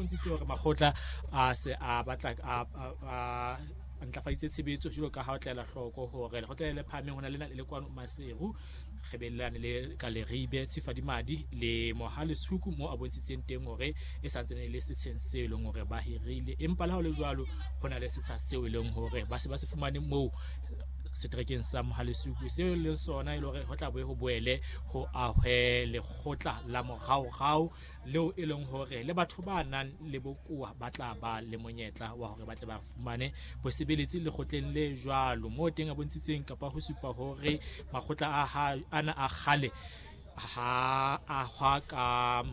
bontshitse hore makgotla a se a batla a ntlafaditse tshebetso jwalo ka ha o tlela hloko hore lekgotla le phahameng ho na le le kwano Maseru Kgebellane le ka Leribe Tshifadimadi le Mohale Suku mo a bontshitseng teng hore e santsane le setsheng seo e leng hore ba hirile, empa le ha ho le jwalo ho na le setsha seo e leng hore ba se ba se fumane moo seterekeng sa Mohale Suku seo e leng sona e le hore ho tla boe ho boele ho ahwe lekgotla la moraorao leo e leng hore le batho ba nang le bokowa ba tla ba le monyetla wa hore ba tle ba fumane bosebeletsi lekgotleng le jwalo. Moo teng a bontshitseng kapa ho supa hore makgotla ana a kgale ha ahwa ka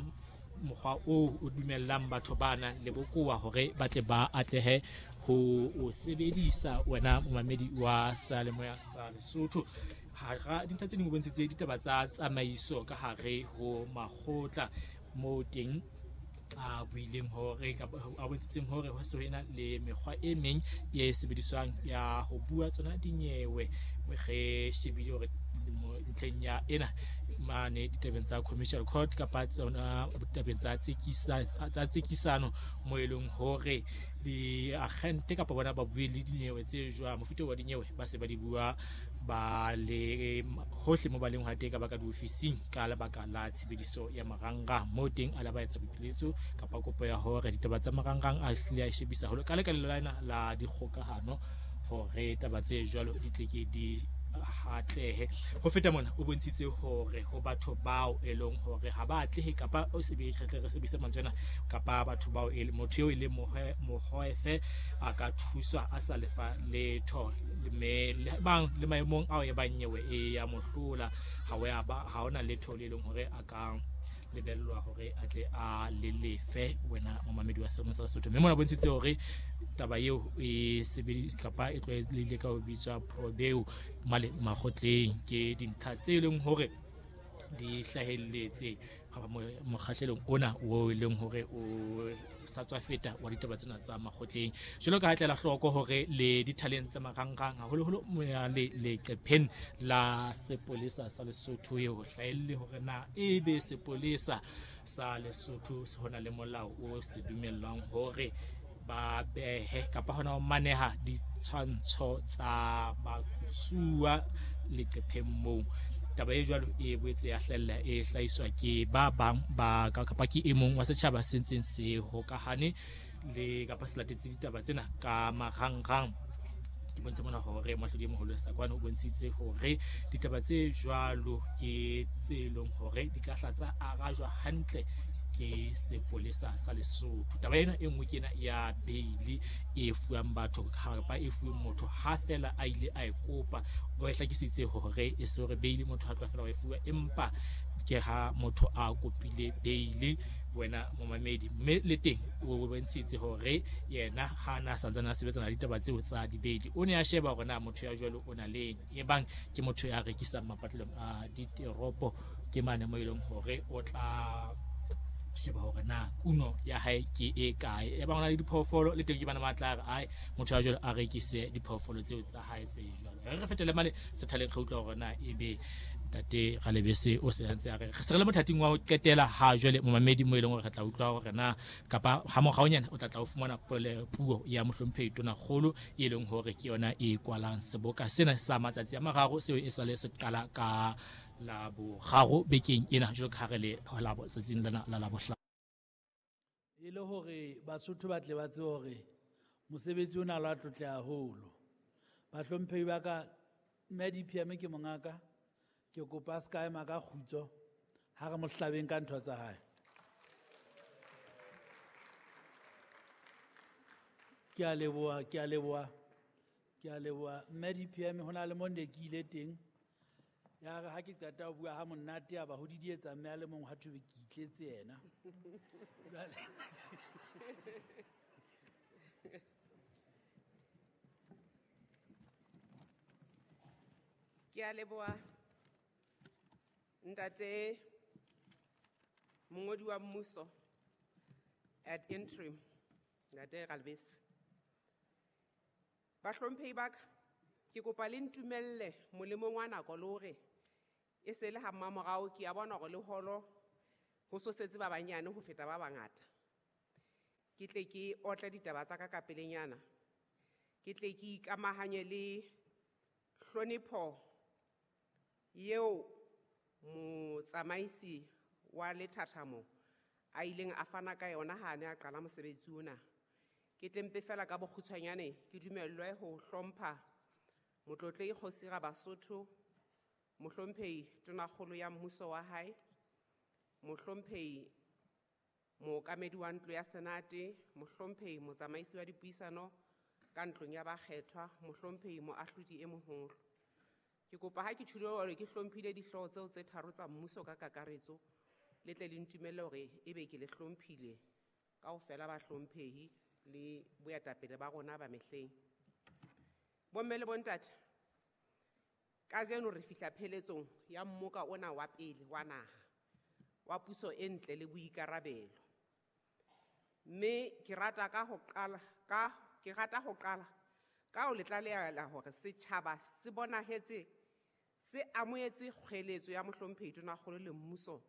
mokgwa oo o dumellang batho ba nang le bokowa hore ba tle ba atlehe ho o sebedisa. Wena momamedi wa Seyalemoya sa Lesotho, hara dintlha tse ding o bontshitse ditaba tsa tsamaiso ka hare ho makgotla moo teng a buileng hore kapa a bontshitseng hore ho se ho ena le mekgwa e meng e sebediswang ya ho bua tsona dinyewe. Re shebile hore ntlheng ya ena mane ditabeng tsa commercial court kapa tsona ditabeng tsa tsekisano mo e leng hore diagente kapa bona ba bue le dinyewe tse jwang, mofuta wa dinyewe ba se ba di bua ba le hohle mo ba leng hona teng ka baka diofising ka lebaka la tshebediso ya marangrang. Moo teng a la ba etsa boipiletso kapa kopo ya hore ditaba tsa marangrang a hlile a shebisa haholo ka lekaleng lena la dikgokahano hore taba tse jwalo di tle ke di hatlehe. Ho feta mona o bontshitse hore ho batho bao e leng hore ha ba atlehe kapa o re sebedise mantswe ana kapa batho bao e motho eo e leng mohoefe a ka thuswa a sa lefa letho, mme le bang le maemong ao e bang nyewe e ya mohlola ha hona letho le leng hore a ka lebellwa hore a tle a le lefe. Wena momamedi wa Seyalemoya sa Lesotho, mme mona bontshitse hore taba eo e sebedisa kapa e tlwaelehile ka ho bitswa probeo male makgotleng. Ke dintlha tse leng hore di hlahelletse mokgahlelong ona o e leng hore o sa tswa feta wa ditaba tsena tsa makgotleng. Jwalo ka ha tlela hloko hore le dithaleng tsa marangrang haholoholo le leqepheng la sepolesa sa Lesotho eo hlahelle hore na ebe sepolesa sa Lesotho ho na le molao o se dumellwang hore ba behe kapa hona ho maneha ditshwantsho tsa baqosuwa leqepheng moo. Taba e jwalo e boetse ya hlahella e hlahiswa ke ba bang ba kapa ke e mong wa setjhaba se ntseng se hokahane le kapa se latetse ditaba tsena ka marangrang. Ke bontshe mona hore moahlodi e moholo Sakwane o bontshitse hore ditaba tse jwalo ke tse leng hore di ka hla tsa arajwa hantle ke sepolesa sa Lesotho. Taba ena e nngwe ke ena ya bail e fuwang batho kapa e fuweng motho ha fela a ile a e kopa. O e hlakisitse hore e se hore bail motho ha tloha fela wa e fuwa, empa ke ha motho a kopile bail wena momamedi. Mme le teng o bontshitse hore yena ha na santsane a sebetsana le ditaba tseo tsa di-bail, o ne a sheba hore na motho ya jwalo o na le eng, ebang ke motho ya rekisang mapatlelong a diteropo ke mane mo e leng hore o tla sheba hore na kuno ya hae ke e kae. Ebang o na le diphoofolo le teng ke bana ba tla re ai motho ya jwalo a rekise diphoofolo tseo tsa hae tse jwalo. Re fetele mane sethaleng re utlwa hore na ebe ntate Ralebese o se ntse a re se re le mothating wa ho qetela ha jwale momamedi mo e leng hore re tla utlwa hore na kapa ha moraonyana o tla tla o fumana puo ya mohlomphehi Tonakgolo e leng hore ke yona e kwalang seboka sena sa matsatsi a mararo seo e sale se qala ka la boraro bekeng ena jwalo ka ha re le tsatsing lena la Labohlano. E le hore Basotho ba tle ba tsebe hore mosebetsi ona lo a tlotle haholo. Bahlomphehi ba ka, mme DPM ke mongaka, ke kopa a ska ema ka kgutso ha re mo hlabeng ka ntho tsa hae. Ke a leboha, ke a leboha, ke a leboha. Mme DPM ho na le mo ne ke ile teng. Ya re ha ke qeta ho bua ha monate a ba ho didietsa mme a le mong ha thwe ke itletse yena. Ke a leboha ntate mongodi wa mmuso at interim ntate Ralebese. Bahlomphehi ba ka, ke kopa le ntumelle molemong wa nako le hore e se le ha mmamorao ke a bona hore le holo ho sosetse ba banyane ho feta ba bangata. Ke tle ke otle ditaba tsa ka ka pelenyana. Ke tle ke ikamahanye le hlonepho eo motsamaisi wa lethathamo a ileng a fana ka yona ha a ne a qala mosebetsi ona. Ke tle mpe fela ka bokgutshwanyane ke dumellwe ho hlompha Motlotlehi Kgosi Rabasotho, Mohlomphehi Tonakgolo ya Mmuso wa hae, Mohlomphehi Mookamedi wa Ntlo ya Senate, Mohlomphehi Motsamaisi wa Dipuisano ka Ntlong ya Bakgethwa, Mohlomphehi Moahlodi e Moholo. Ke kopa ha ke tjhulo hore ke hlomphile dihlooho tseo tse tharo tsa mmuso ka kakaretso, le tle le ntumelle hore ebe ke le hlomphile kaofela bahlomphehi le boetapele ba rona ba mehleng. Bomme le bontate, kajeno re fihla pheletsong ya mmoka ona wa pele wa naha wa puso e ntle le boikarabelo. Mme ke rata ka ho qala ka ke rata ho qala ka ho le tlalehela hore setjhaba se bonahetse se amohetse kgweletso ya Mohlomphehi Tonakgolo le mmuso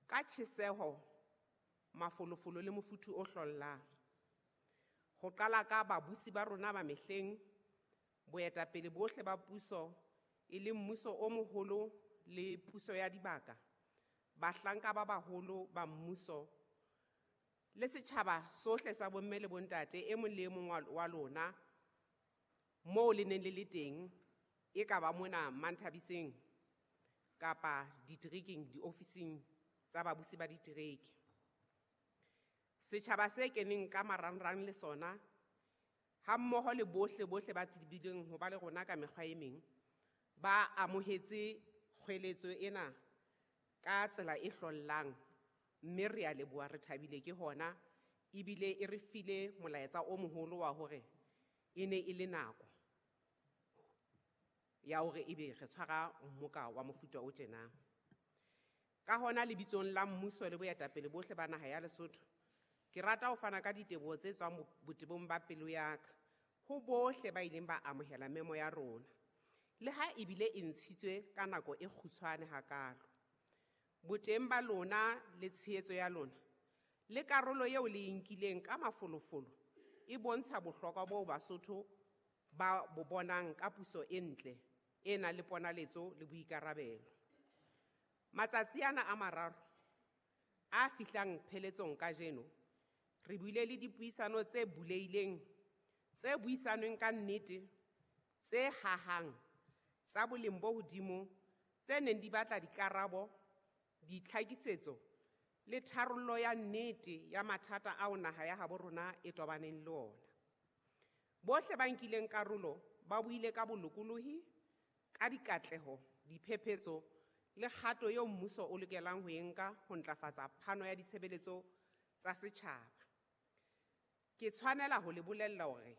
ka tjheseho, mafolofolo le mofuthu o hlollang. Ho qala ka babusi ba rona ba mehleng, boetapele bohle ba puso e leng mmuso o moholo le puso ya dibaka, bahlanka ba baholo ba mmuso le setjhaba sohle sa bomme le bontate e mong le e mong wa lona moo le neng le le teng, e ka ba mona Manthabiseng kapa diterekeng, diofising tsa babusi ba ditereke. Setjhaba se keneng ka marangrang le sona ha mmoho le bohle bohle ba tsebileng ho ba le rona ka mekgwa e meng, ba amohetse kgweletso ena ka tsela e hlollang, mme re a leboha, re thabile ke hona, ebile e re file molaetsa o moholo wa hore e ne e le nako ya hore ebe re tshwara mmoka wa mofuta o tjena. Ka hona lebitsong la mmuso le boetapele bohle ba naha ya Lesotho, ke rata ho fana ka diteboho tse tswang botebong ba pelo ya ka ho bohle ba ileng ba amohela memo ya rona, le ha ebile e ntshitswe ka nako e kgutshwane hakalo. Boteng ba lona le tshehetso ya lona le karolo eo le e nkileng ka mafolofolo e bontsha bohlokwa boo Basotho ba bo bonang ka puso e ntle e nang le ponaletso le boikarabelo. Matsatsi ana a mararo a fihlang pheletsong kajeno, re buile le dipuisano tse bulehileng, tse buisanweng ka nnete, tse hahang, tsa boleng bo hodimo, tse neng di batla dikarabo, ditlhakisetso le tharollo ya nnete ya mathata ao naha ya habo rona e tobaneng le ona. Bohle ba nkileng karolo ba buile ka bolokolohi, ka dikatleho, diphephetso le kgato eo mmuso o lokelang ho e nka ho ntlafatsa phano ya ditshebeletso tsa setjhaba. Ke tshwanela ho le bolella hore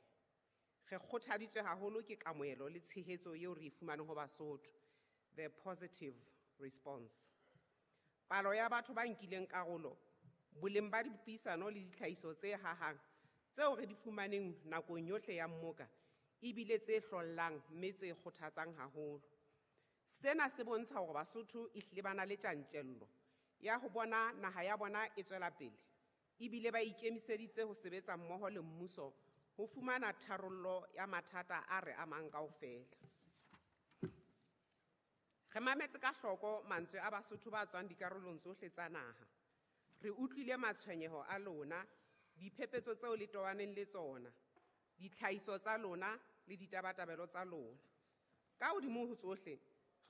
re kgothaditswe haholo ke kamohelo le tshehetso eo re e fumaneng ho Basotho, the positive response. Palo ya batho ba nkileng karolo, boleng ba dipuisano le ditlhahiso tse hahang tseo re di fumaneng nakong yohle ya mmoka ebile tse hlollang mme tse kgothatsang haholo. Sena se bontsha hore Basotho ehlile ba na le tjantjello ya ho bona naha ya bona e tswela pele, ebile ba ikemiseditse ho sebetsa mmoho le mmuso ho fumana tharollo ya mathata a re amang kaofela. Re mametse ka hloko mantswe a Basotho ba tswang dikarolong tsohle tsa naha. Re utlwile matshwenyeho a lona, diphephetso tseo le tobaneng le tsona, ditlhahiso tsa lona le ditabatabelo tsa lona. Ka hodimo ho tsohle,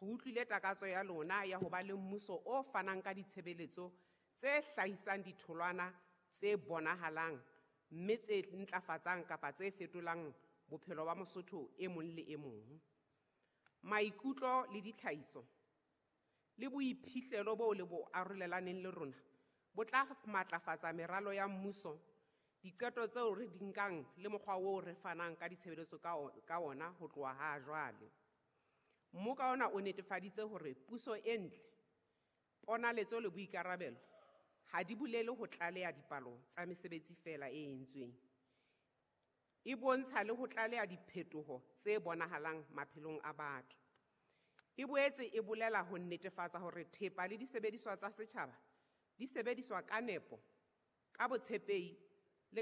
re utlwile takatso ya lona ya ho ba le mmuso o fanang ka ditshebeletso tse hlahisang ditholwana tse bonahalang mme tse ntlafatsang kapa tse fetolang bophelo ba Mosotho e mong le e mong. Maikutlo le ditlhahiso le boiphihlelo boo le bo arolelaneng le rona bo tla matlafatsa meralo ya mmuso, diqeto tseo re di nkang le mokgwa oo re fanang ka ditshebeletso ka ona ho tloha ha jwale. Mmoka ona o netefaditse hore puso e ntle, ponaletso le boikarabelo ha di bolele ho tlaleha dipalo tsa mesebetsi feela e entsweng. E bontsha le ho tlaleha diphetoho tse bonahalang maphelong a batho. E boetse e bolela ho netefatsa hore thepa le disebediswa tsa setjhaba di sebediswa ka nepo, ka botshepehi